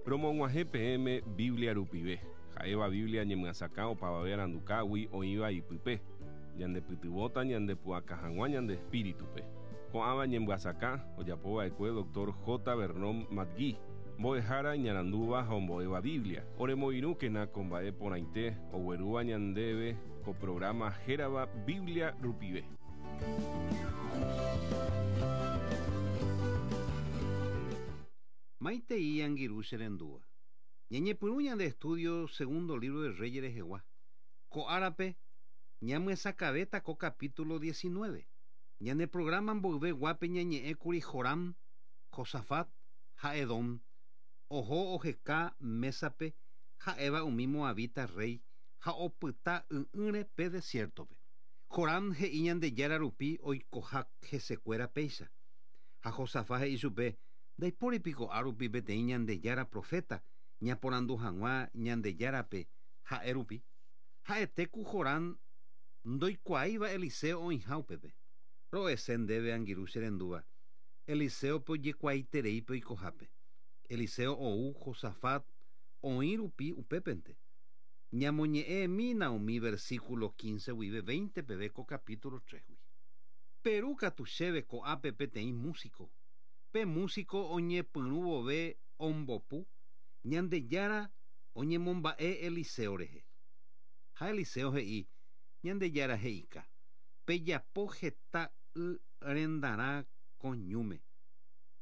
Romog̃uahẽ peẽme Biblia rupive, ha'éva Biblia ñemyasakã opavave arandukágui oĩva ipype, ñandepytyvõta ñandepu'aka hag̃ua ñande espíritupe. Ko'ãva ñemyasakã ojapova'ekue Dr. J. Vernon McGee, mbo'ehára iñarandúva ha ombo'éva Biblia. Oremoirũkena ko mba'e porãite oguerúva ñandéve ko programa hérava Biblia rupive. Maitei angirũ che rendúva. Ñañepyrũ ñande estudio segundo libro de Reyes rehegua. Ko árape ñamyesakãvéta ko capítulo 19. Ñane programa mboyve guápe ñañe'ẽkuri Joram, Josafat ha Edom oho oheka mésape ha'éva umi moabita rréi ha opyta y'ỹre pe desiértope. Joram he'i Ñandejára rupi oikoha hesekuéra péicha. Ha Josafat he'i chupe, Ndaipóri piko árupi peteĩ Ñandejára proféta ñaporandu hag̃ua Ñandejárape ha'e rupi? Ha'ete ku Joram ndoikuaáiva Eliseo oĩha upépe. Ro'ese ndéve angirũ che rendúva, Eliséope ojekuaaiterei pe oikohápe. Eliseo ou Josafat oĩ rupi upépente. Ñamoñe'ẽmína umi versículo 15 guive 20 peve ko capítulo 3-gui. Peru katu chéve ko'ápe peteĩ músiko. Pe músiko oñepyrũ vove ombopu, Ñandejára oñemomba'e Eliseo rehe. Ha Eliseo he'i, Ñandejára he'ika, Pejapo heta y rendarã ko ñúme.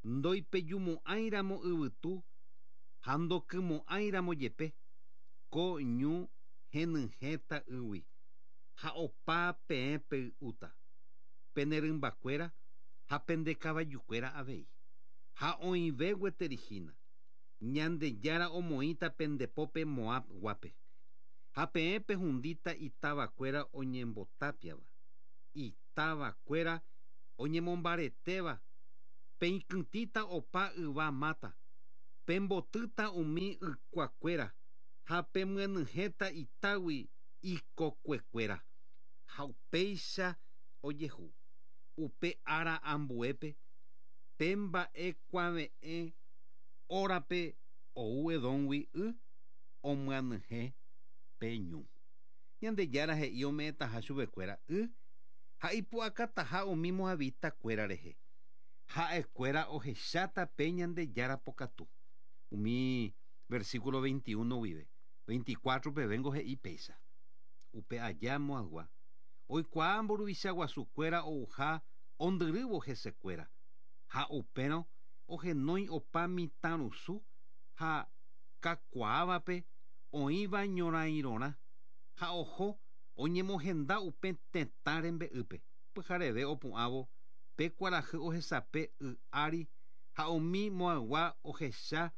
Ndoipejumo'ãiramo yvytu ha ndokymo'ãiramo jepe, ko ñu henyhẽta ýgui, ha opa peẽ pey'úta, pene rymbakuéra ha pende kavajukuéra avei. Ha oĩve gueteri hína, Ñandejára omoĩta pende pópe Moab guápe. Ha peẽ pehundíta itávakuéra oñembotápiava, itávakuéra oñemombaretéva, peikytĩta opa yva máta, pembotýta umi ykuakuéra ha pemyenyhẽta itágui ikokuekuéra. Ha upéicha ojehu. Upe ára ambuépe, pe mba'e kuave'ẽ órape ou Edómgui y omyanyhẽ pe ñu. Ñandejára he'i ome'ẽtaha chupekuéra y ha ipu'akataha umi moabita kuéra rehe. Ha'ekuéra ohecháta pe Ñandejára pokatu. Umi versículo 21 guive, 24 pevéngo he'i péicha. Upe aja Moabgua oikuaa mburuvicha guasu kuéra ouha ondyrývo hesekuéra, ha upérõ ohenói opa mitãrusu ha kakuaávape oĩva ñorãirõrã ha oho oñemohenda upe tetã rembe'ýpe. Pyhareve opu'ãvo pe kuarahy ohesape y ári ha umi Moabgua ohecha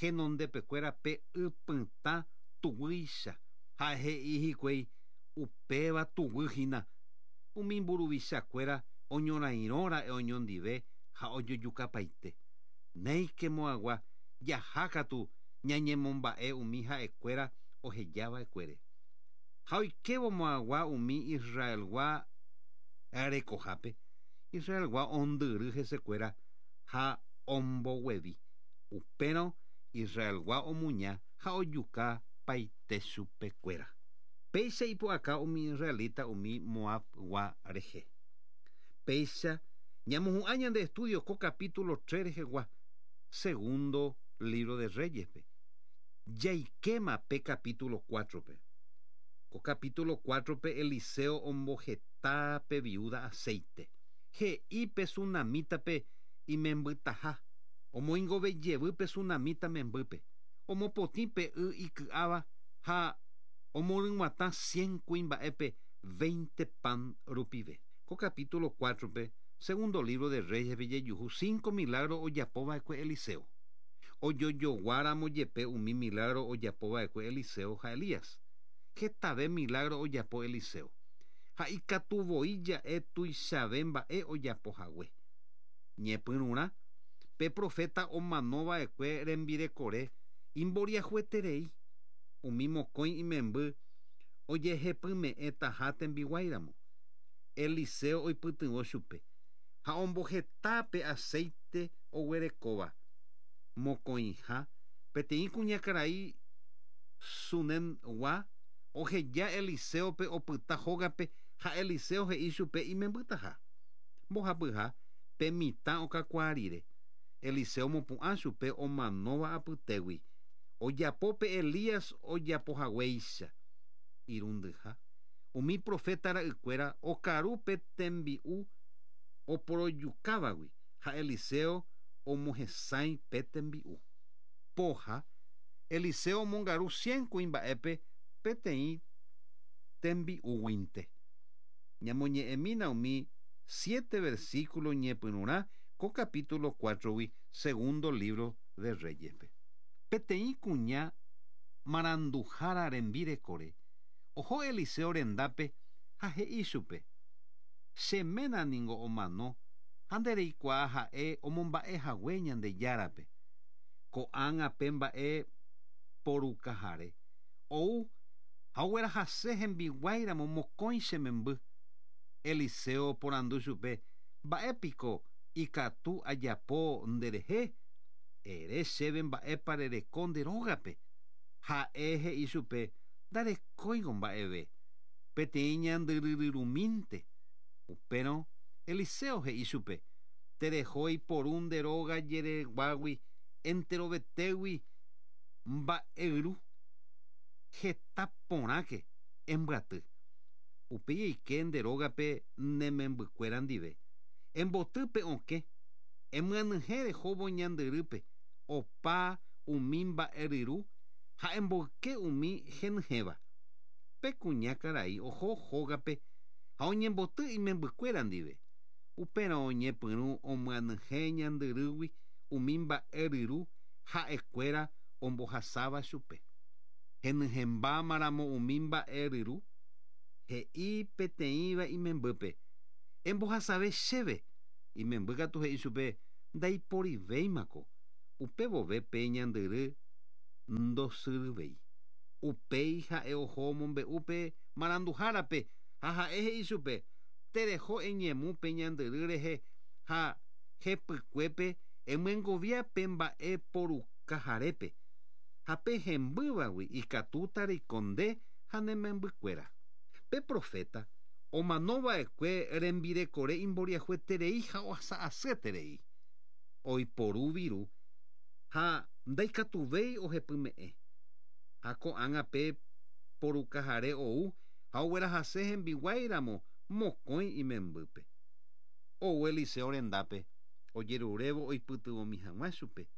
henondepekuéra pe y pytã tuguýicha, ha he'i hikuái, Upéva tuguy hína. Umi mburuvicha kuéra oñorairõ ra'e oñondive ha ojojukapaite. Néike Moabgua, jaha katu ñañemomba'e umi ha'ekuéra oheja va'ekuére. Ha oikévo Moabgua umi Israelgua rekohápe, Israelgua ondyry hesekuéra ha omboguevi. Upérõ Israelgua omuña ha ojuka paite chupekuéra. Péicha ipu'aka umi israelita umi Moabgua rehe. Péicha ñamohu'ã ñande estudio ko capítulo 3 rehegua, segundo libro de Reyes-pe. Jaikéma pe capítulo 4-pe. Ko capítulo 4-pe Eliseo omboheta pe viúda aceite. He'i pe sunamítape imembytaha, omoingove jevy pe sunamíta membýpe, omopotĩ pe y iky'áva ha omoryg̃uatã cien kuimba'épe veinte pan rupive. Ko capítulo 4-pe, segundo libro de Reyes-pe jajuhu cinco milagro ojapo va'ekue Eliseo. Ojojoguáramo jepe umi milagro ojapo va'ekue Eliseo ha Elías, hetave milagro ojapo Eliseo, ha ikatu voi ja'e tuichave mba'e ojapo hague. Ñepyrũrã, pe proféta omano va'ekue rembirekore imboriahueterei, umi mokõi imemby ojehepyme'ẽtaha tembiguáiramo. Eliseo oipytyvõ chupe ha omboheta pe aceite oguerekóva. Mokõiha, Peteĩ kuñakarai Sunemgua oheja Eliséope opyta hógape ha Eliseo he'i chupe imembytaha. Mbohapyha, pe mitã okakuaa rire, Eliseo omopu'ã chupe omanóva apytégui, ojapo pe Elías ojapohaguéicha. Irundyha, umi proféta ra'ykuéra okaru pe tembi'u oporojukávagui ha Eliseo omohesãi pe tembi'u. Poha, Eliseo omongaru cien kuimba'épe peteĩ tembi'úguinte. Ñamoñe'ẽmína umi siete versículo ñepyrũrã ko capítulo cuátrogui segundo libro de Reyespe. Peteĩ kuña maranduhára rembirekore oho Eliseo rendápe ha he'i chupe, Che ména ningo omano ha nde reikuaa ha'e omomba'e hague Ñandejárape. Ko'ág̃a pe mba'e porukahare ou ha oguerahase hembiguáiramo mokõi che memby. Eliseo oporandu chupe, Mba'e piko ikatu ajapo nderehe? Ere chéve mba'épa rereko nde rógape. Ha'e he'i chupe, Ndarekóingo mba'eve, peteĩ ñandyryryrumínte. Upérõ Eliseo he'i chupe, Tereho eiporu nde róga jereguágui enterovetégui mba'eyru, heta porãke embyaty. Upéi eike nde rógape ne membykuéra ndive, emboty pe okẽ, emyanyhẽ rehóvo ñandyrýpe opa umi mba'eryru ha emboyke umi henyhẽva. Pe kuña karai oho hógape ha oñemboty imembykuéra ndive. Upérõ oñepyrũ omyanyhẽ ñandyrýgui umi mba'e ryru ha'ekuéra ombohasáva chupe. Henyhẽmbáma ramo umi mba'e ryru, he'i peteĩva imembýpe, Embohasave chéve. Imemby katu he'i chupe, Ndaiporivéimako. Upe vove pe ñandyry ndosyryvéi. Upéi ha'e oho omombe'u pe maranduhárape ha ha'e he'i chupe, Tereho eñemu pe ñandyry rehe ha hepykuépe emyengovia pe mba'e porukaharépe, ha pe hembývagui ikatúta reiko nde ha ne membykuéra. Pe proféta omano va'ekue rembirekore imboriahueterei ha ohasa asyeterei. Oiporu viru ha ndaikatuvéi ohepyme'ẽ. Ha ko'ág̃a pe porukahare ou ha oguerahase hembiguái ramo mokõi imembýpe. Ou Eliseo rendápe, ojerurévo oipytyvõmi hag̃ua chupe.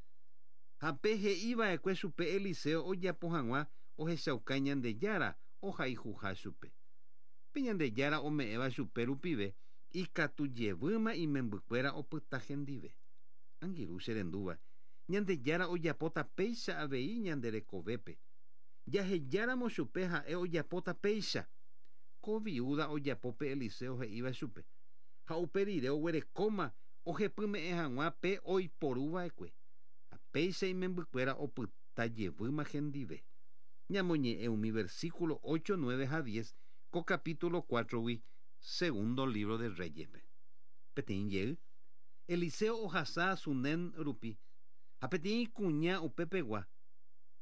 Ha pe he'i va'ekue chupe Eliseo ojapo hag̃ua ohechauka Ñandejára ohayhuha chupe. Pe Ñandejára ome'ẽva chupe rupive ikatu jevýma imembykuéra opyta hendive. Angirũ che rendúva, Ñandejára ojapóta péicha avei ñande rekovépe. Jahejáramo chupe ha'e ojapóta péicha. Ko viúda ojapo pe Eliseo he'íva chupe, ha upe rire oguerekóma ohepyme'ẽ hag̃ua pe oiporu va'ekue, ha péicha imembykuéra opyta jevýma hendive. Ñamoñe'ẽ umi versículo ocho, nueve ha diez ko capítulo cuátrogui Segundo libro de Reyes-pe. Peteĩ jey, Eliseo ohasa Sunem rupi, ha peteĩ kuña upepegua,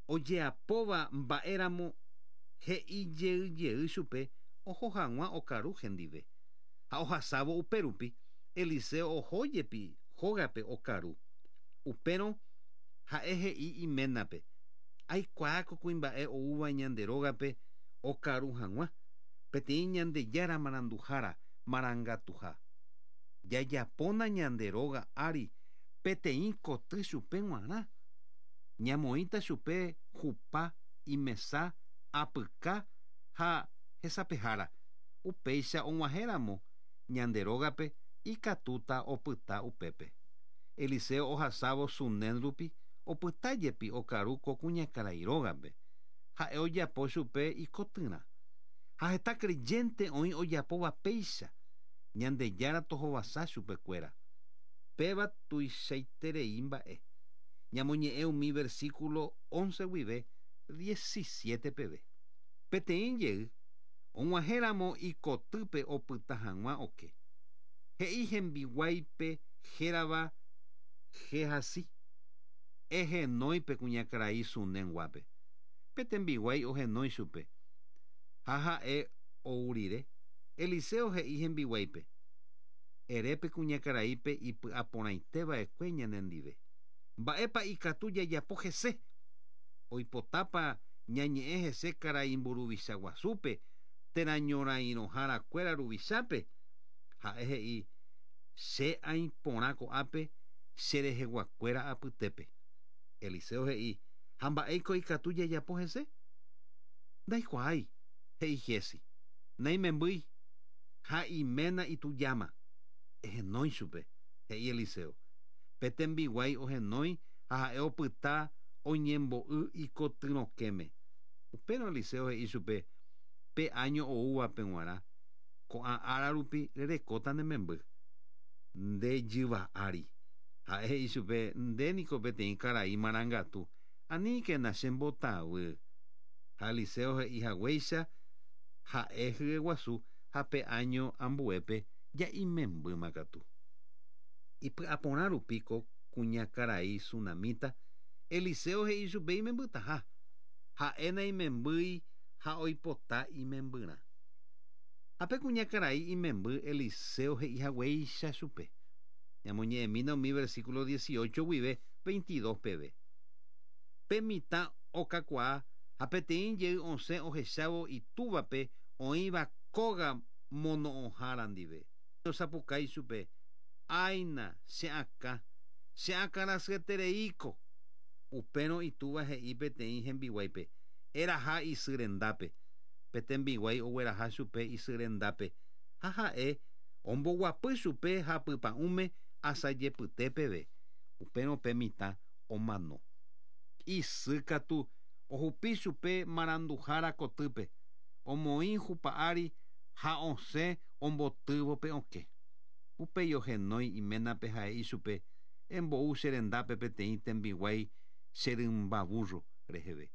ojeapóva mba'éramo he'i jey jey chupe oho hag̃ua okaru hendive. Ha ohasávo upérupi, Eliseo oho jepi hógape okaru. Upérõ ha'e he'i iménape, Aikuaa ko kuimba'e oúva ñande rógape okaru hag̃ua, peteĩ Ñandejára maranduhára marangatuha. Jajapóna ñande róga ári peteĩ koty chupe g̃uarã. Ñamoĩta chupe hupa, imesa, apyka ha hesapehára. Upéicha og̃uahẽramo ñande rógape ikatúta opyta upépe. Eliseo ohasávo Sunem rupi opyta jepi okaru ko kuñakarai rógape. Ha'e ojapo chupe ikotyrã. Ha heta creyente oĩ ojapóva péicha, Ñandejára tohovasa chupekuéra. Péva tuichaiterei mba'e. Ñamoñe'ẽ umi versículo once guive diecisiete peve. Peteĩ jey, og̃uahẽramo ikotýpe opyta hag̃ua oke, he'i hembiguáipe hérava Gehazi. Ehenói pe kuñakarai Sunenguápe. Pe tembiguái ohenói chupe. Ha ha'e ou rire, Eliseo he'i hembiguáipe: Ere pe kuñakaraípe ipy'aporãiteva'ekue ñanendive. Mba'épa ikatu jajapo hese? Oipotápa ñañe'ẽ hese karai mburuvicha guasúpe térã ñorairõharakuéra ruvichápe? Ha'e he'i: Che aĩ porã ko'ápe che reheguakuéra apytépe. Eliseo he'i: Ha mba'éiko ikatu jajapo hese? Ndaikuaái, he'i Giezi. Naimembýi, ha iména itujáma. Ehenói chupe, he'i Eliseo. Pe tembiguái ohenói ha ha'e opyta oñembo'y ikotyrõkẽme. Upérõ Eliseo he'i chupe, Pe áño oúvape g̃uarã, ko'ã ára rupi rerekóta ne memby. Nde jyva ári. Ha'e he'i chupe, Nde niko peteĩ karai marangatu, aníkena che mbotavy. Ha Eliseo he'i haguéicha, ha'e hyeguasu ha pe áño ambuépe ja imembýma katu. Ipy'aporã rupi ko kuñakarai sunamíta, Eliseo he'i chupe imembytaha. Ha'e naimembýi ha oipota imembyrã. Ha pe kuñakarai imemby Eliseo he'i haguéicha chupe. Ñamoñe'ẽmína umi versículo 18 guive 22 peve. Pe mitã okakuaa ha peteĩ jey osẽ ohechávo itúvape oĩva kóga mono'õhára ndive. Osapukái chupe, Áina, che akã, che akãrasyetereíko! Upérõ itúva he'i peteĩ hembiguáipe, Eraha isy rendápe. Pe tembiguái ogueraha chupe isy rendápe, ha ha'e omboguapy chupe hapypa'ũme asajepyte peve. Upérõ pe mitã omano. Isy katu ohupi chupe maranduhára kotýpe, omoĩ hupa ári ha osẽ ombotývo pe okẽ. Upéi ohenói iménape ha he'i chupe, Embou che rendápe peteĩ tembiguái che rymba vúrro reheve.